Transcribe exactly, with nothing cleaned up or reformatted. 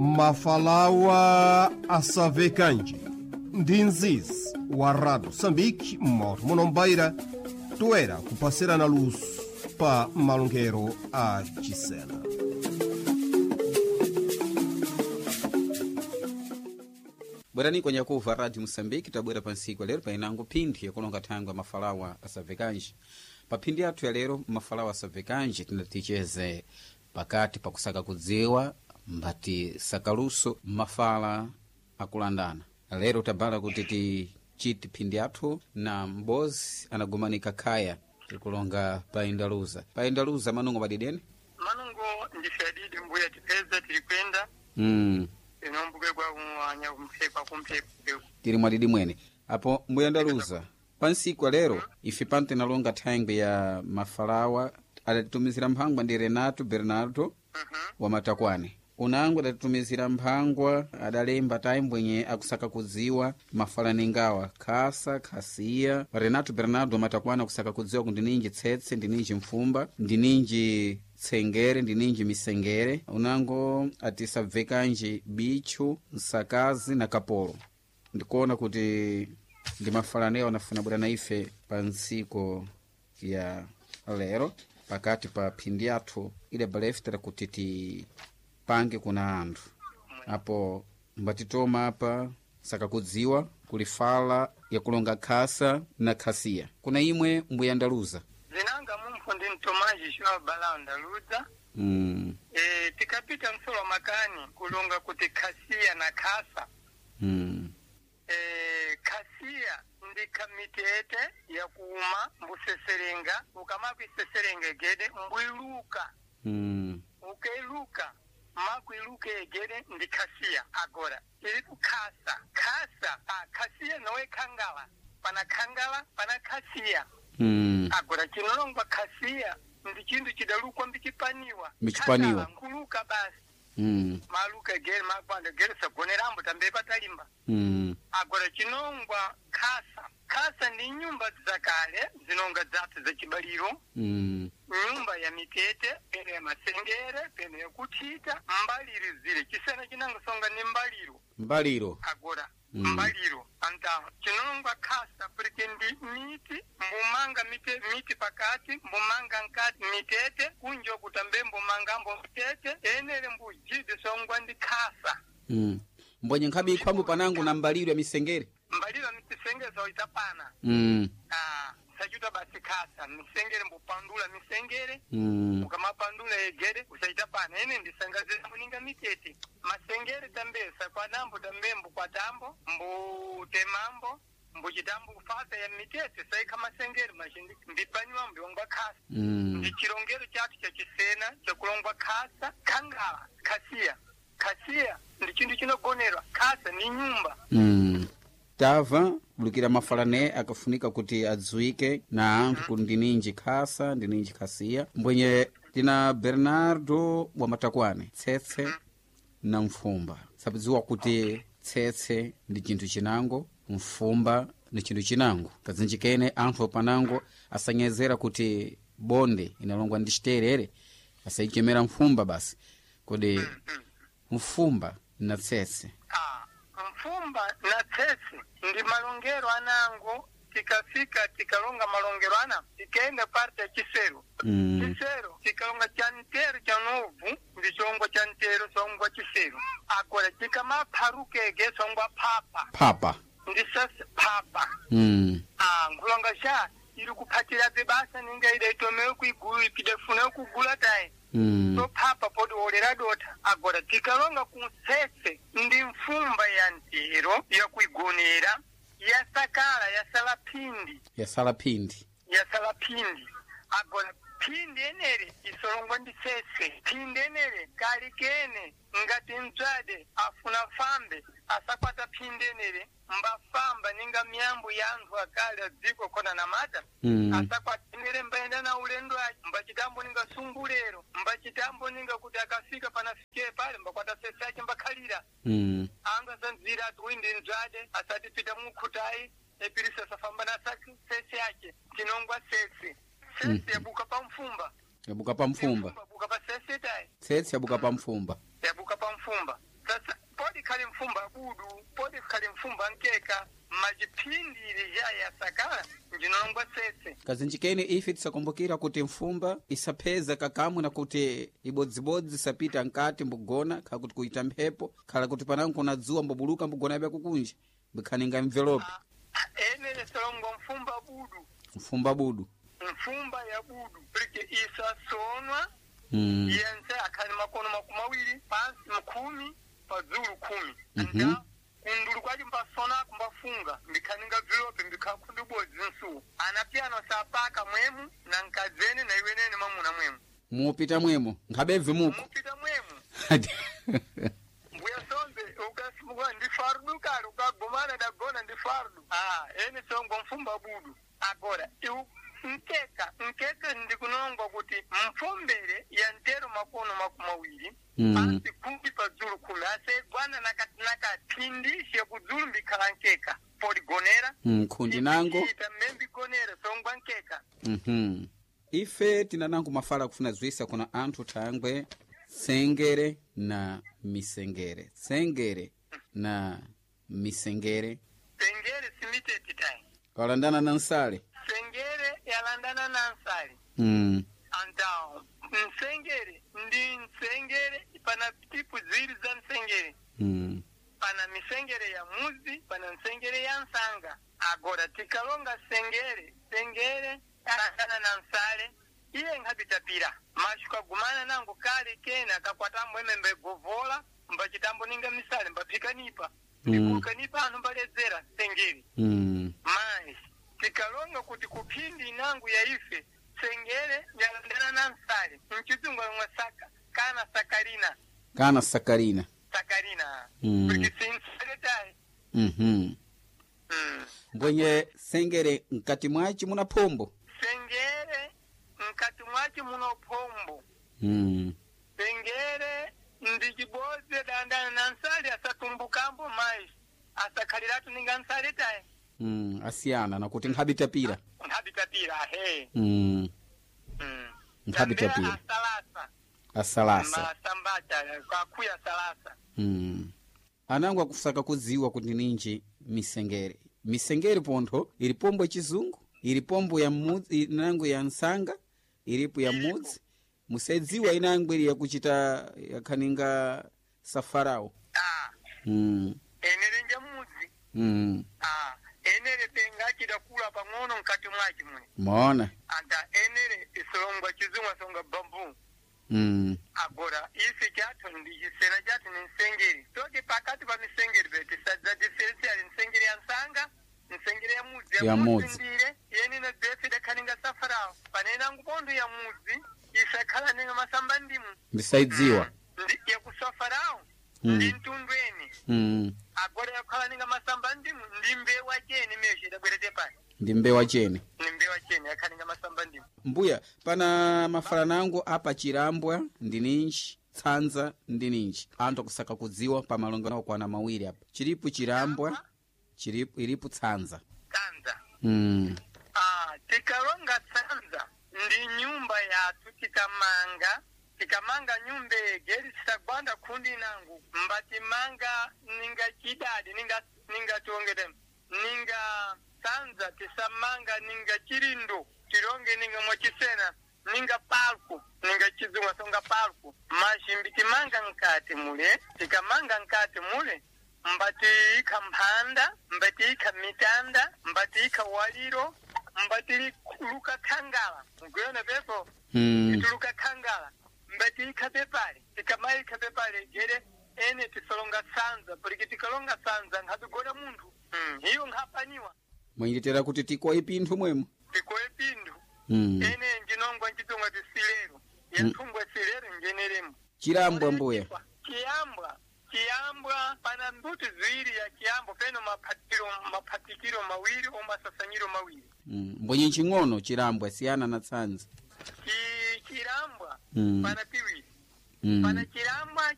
Mafalawa asavekanji ndi nzizi wa Rádio Moçambique moto munombaira toera kupasirana luso pa malongero a Chisena. Bwerani kwenye kuva Radio Moçambique tabwera pa ntsiku lero painango phindi yakulonga thangwe mafalawa asavekanji. Pa phindi yathu ya lero mafalawa asavekanji tinaticheze pakati pakusaka kudziwa mbati sakaluso mafala akulandana. Lero tabala kuti tichite phindi yathu na mbozi anagumanika khaya tikulonga paindaluza. Paindaluza manungo padideni? Manungo ndife adidi mbuya tipeza tili kwenda Mm. inombuke kwa kumwanya kumphekwa kumphekwa Tili mwadidi mwene apo mbuyandaluza pansiku lero ife pano tinalonga thangwi ya mafalawa adatitumizira mphangwa ndi Renato Bernardo wa Matakwane unango adatitumizira mphangwa adalemba taimbwenye akusaka kudziwa mafalaningawa khasa khasiya. Renato Bernardo wa Matakwane akusaka kudziwa kuti ndininji tsetse, ndininji mfumba, ndininji tsengere, ndininji misengere. Unango atisabvekanji bichu, nsakazi na kapolo. Ndikuona kuti ndi mafalanewo anafuna bwera na ife pa ntsiko ya lero pakati pa phindi yathu ile balefitera kuti tipange kuna anthu apo mbatitoma apa sakakudziwa kulifala yakulonga khasa na khasiya. Kuna imwe mbuyandaluza zinanga mumpho ndi mtomaji xwa bala ndaluza mm, e, tikapita msolo makani kulonga kuti khasiya na khasa mm, e, khasiya ndi khamitete yakuuma mbuseserenga ukamakuiseserenga egede mbuiluka mm, ukailuka makuiluka egede ndi khasiya. Agora ili kukhasa khasa ah, khasiya nowe khangala pana khangala pana khasiya mm. agora chinolongwa khasiya ndi chinthu chidalukwa mbichipaniwa Mbichipaniwa. Khangala nkuluka basi Mm, maluka egere makwanda egere sagonerambo tambe patalimba mm, agora chinongwa khasa khasa ndi nyumba zakale zinonga zathu zachibaliro mm, nyumba ya mitete peno ya masengere peno ya kuthita mbaliro zile chisena chinangasonga ni mbaliro mbaliro agora Mm. mbaliro anta chinongwa khasa porque ndi miti mbumanga mite, miti pakati mbumanga nkati mitete kunjo kutambe mbumanga mbo mitete enele mbujidi songwa ndi khasa mm. Mbwenye nkhabe ikhwambo panango na mbaliro ya misengere mbaliro ya misengere saitapana mm, ah, sachuta basi khasa misengere mbupandula misengere mm. ukamapandula egere usaita pana ene ndisangazira muninga mitete masengere tambesa kwanambo tambe mbukwatambo mbutemambo mbuchitambo kufasa ya mitete saikha masengere machindi mbipanywa mbiongwa khasa Mm. ndi chilongero chathu cha chisena chakulongwa khasa khangala khasiya khasiya ndi chinthu chinogonerwa khasa ni nyumba Mm. Tava bulukira mafalane akafunika kuti adziwike na anthu kuti ndininji khasa ndininji khasiya. Mbwenye tina Bernardo wa Matakwane tsetse na mfumba sakudziwa kuti tsetse ndi chinthu chinango, mfumba ndi chinthu chinango. Kadzinji kene anthu panango asanyezera kuti bonde inalongwa ndi chiterere asaichemera mfumba basi. Kodi mfumba na tsetse Ah, mfumba na tsetse ndi malongero anango tikafika tikalonga malongero ana tikaenda parte ya chisero mm. chisero tikalonga cha ntero cha novu ndi chongwa cha ntero songwa chisero agora tikamapharukege songwa phapha phapa ndi sasa phapha mm. ah, nkhulonga sha ili kuphatirabe basa ninga ida itomewe kuigulu ipidafuna kugula tayi Mm. so phapha podi wolera dotha agora tikalonga kunsese ndi mfumba ya ntero yakuigonera yasakala yasala phindi yasala phindi yasala phindi agora phindi enere isolongwa ndi sese phindi enere kali kene ngati mdzade afuna fambe asakwata phindi enere mbafamba ninga miyambo ya anthu akale adziko khona na mata mm. asakwatenere mbaenda na ulendo aci mbachitambo ninga sungulero mbachitambo ninga kuti akafika panafike pale mbakwata sese aci mbakhalira mm. anthu asanzira ati uyu ndi mdzade asatipita mukhutayi epirisa asafamba na sake sese ace tinongwa sese sese yabuka pa mfumba yabuka pa mfumba yabuka pa sese tayi tsetse yabuka pa mfumba yabuka pa mfumba Sasa podi khali mfumba budu, podi khali mfumba nkeka, majiphindi ili ja yasakala njinongwa sese. Kazinjikeni ife tisakumbukira kuti mfumba isapheza kakamwe na kuti ibodzibodzi isapita nkati mbugona khala kuti kuita mphepo khala kuti panango kuna dzuwa mbubuluka mbugona bya kukunja mbikhaninga mvelope. Enele solongwa mfumba budu, mfumba budu. Mfumba ya budu porque isasonwa. Mm. Yense akhali makono makumi awiri pansi mkhumi padzulu khumi. Mhm. Nda kundulu kwaci mbasona kumbafunga mbikhaninga vilope mbikhakhundu bodzi nsuwo anapiyano sapaka mwemu na nkadzene na iwenene mwamuna mwemu. Mupita mwemo nkhabebve muko. Mupita mwemu mbuya sombe ukasimuka ndi fardu kale ukagomana dagona ndi fardu. Ah, ene songo mfumba budu. Agora iu nkeka nkeka ndikunongwa kuti mfumbere ya ntero makono makumi awiri Mm. pansi khumi padzulu khumi asegwana nakati nakati phindishe kudzulu mbikhala nkeka poligonera. Mm, khundi nango. Ita mmembigonera songwa nkeka. Mhm. Ife tinanango mafala kufuna zwisa kuna anthu thangwe tsengere na misengere, tsengere na misengere. Sengere simiteti tayi. Kalandana na nsale. Sengere yalandana na nsale. Mm. Antao nsengere ndi nsengere pana tipu ziwiri za nsengere. Mm. Pana misengere ya muzi, pana nsengere ya nsanga. Agora tikalonga sengere, sengere yalandana na nsale iye nkhabitapira mashuka gumana nango kale kena kakwatambo emembe govola mbachitambo ninga misale mbaphikanipa. Mm. Ndikukanipa anthu mbaledzera sengere. Mm. Mayi tikalonga kuti kuphindi inangu ya ife sengere yalandana na nsale mchizungu alomwe saka kana sakarina. Kana sakarina. Sakarina. Mm. Kuti sinsale tayi. Mhm. Mm. Mbwenye sengere mkati mwaci muna phombo. Sengere mkati mwaci muno phombo. Mm. Sengere ndi cibodzi dandana na nsale asatumbukambo mayi asakhaliratu ninga nsale tayi. Mm. Asiyana nakuti nkhabitapira. Nkhabitapira ahe. Mm. Mm. Nkhabitapira. Asalasa. Asalasa. Masambata kakhuya salasa. Mm. Anango akusaka kudziwa kuti ninji misengere. Misengere pontho ili pombo yachizungu, ili pombo ya mudzi, inango ya nsanga, ilipo ya mudzi. Musadziwa inango ili yakuchita yakhaninga safarawo. Ah, Mm. enere nja mudzi. Mm. Ah, enere penga chidakula pang'ono mkati mwaci mwe. Maona? Anta enere isolongwa chizungu asonga bambu. Mm. Agora ife chathu ndi chisena chathu ni nsengeri toti pakati pa misengeri pe tisadza diferensiali nsengeri ya nsanga, nsengeri ya mudzi. Ya mudzi. Ndile yenino dzefe idakhaninga safarawo panenangu pontho ya mudzi isakhala ninga masamba ndimu. Ndisaidziwa. Ndi yakusafarawo Mm. ndi mtundweni. Mm. Agora yakhala ninga masamba ndimu ndi mbewa cheni mesho idabwerete pano. Ndi mbewa chene. Ni mbewa cheni yakhaninga masamba ndimu. Mbuya, pana mafalanango apa chilambwa ndi ninji, tsanza ndi ninji. Anthu akusaka kudziwa pa malongano okwana mawiri apa. Chilipo chilambwa, chilipo ilipo tsanza. Tsanza. Mm. Ah, tikalonga tsanza ndi nyumba yathu tikamanga tikamanga nyumba egeri tisagwanda khundi nangu mbatimanga ninga chidadi ninga ninga tiongete ninga tsanza tisamanga ninga chilindo tilonge ninga mwachisena ninga palku ninga chizungu songa palku mashimbi timanga nkati mule tikamanga nkati mule mbatiika mphanda mbatiika mitanda mbatiika waliro mbatiluka khangala mkuyona pepo. Mm. Tuluka khangala mbatiika pepale tikamaika pepale gere ene tisolonga sanza porque tikalonga sanza nkhatigona munthu. Mm. Iyo nkhapaniwa. Mwayendetera kuti tikoye pinthu mwemo. Tikoye pinthu. Mm. Ene njinongwa nchitunga tisilero yanthungwa silero njeneremo. Chilambwa mbuya. Chiyambwa chiyambwa pana mbuti ziwiri ya chiyambwa peno maphatiro maphatikiro mawiri omasasanyiro mawiri. Mm. Mbwenye ching'ono chilambwa siyana na tsanza. Chi- chilambwa Mm. pana piwiri. Mm. Pana chilambwa.